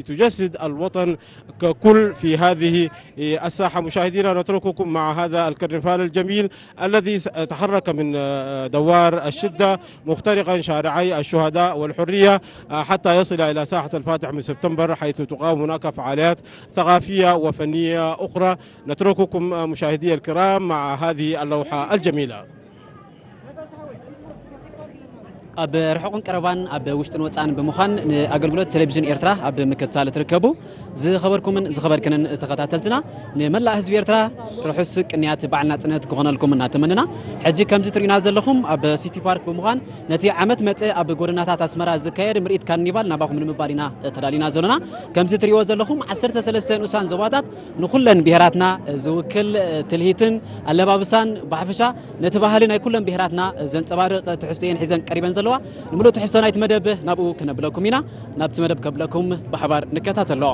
تجسد الوطن ككل في هذه الساحة. مشاهدينا، نترككم مع هذا الكرنفال الجميل الذي س- تحرك من، آه، دوار الشدة، مخترقا شارعي الشهداء والحرية، آه، حتى يصل إلى ساحة الفاتح من سبتمبر، حيث تقام هناك فعاليات ثقافية وفنية أخرى. نترككم، آه، مشاهدي الكرام، مع هذه اللوحة الجميلة. ኣብ ርሑቕን ቀረባን ኣብ ውሽጥን ወፃእን ብምዃን ንኣገልግሎት ቴሌቪዥን ኤርትራ ኣብ ምክትታል ትርከቡ ዝኸበርኩምን ዝኸበርክንን ተኸታተልትና፣ ንመላእ ህዝቢ ኤርትራ ርሑስ ቅንያት በዓል ናጽነት ክኾነልኩም እናተመንና፣ ሕጂ ከምዚ ትርእዩና ዘለኹም ኣብ ሲቲ ፓርክ ብምዃን ነቲ ዓመት መጽእ ኣብ ጎደናታት ኣስመራ ዝካየድ ምርኢት ካርኒቫል ናባኹም ንምባል ኢና ተዳሊና ዘለና። ከምዚ ትርእይዎ ዘለኹም ዓሰርተ ሰለስተ ንኡሳን ዞባታት ንኹለን ብሄራትና ዝውክል ትልሂትን ኣለባብሳን ብሓፈሻ ነቲ ባህሊ ናይ ኩለን ብሄራትና ዘንጸባርቕ ትሕዝቶ እየን ሒዘን ቀሪበን ዘለዋ። ንምሉእ ትሕዝቶ ናይቲ መደብ ናብኡ ክነብለኩም ኢና። ናብቲ መደብ ከብለኩም ብሓባር ንከታተሎ።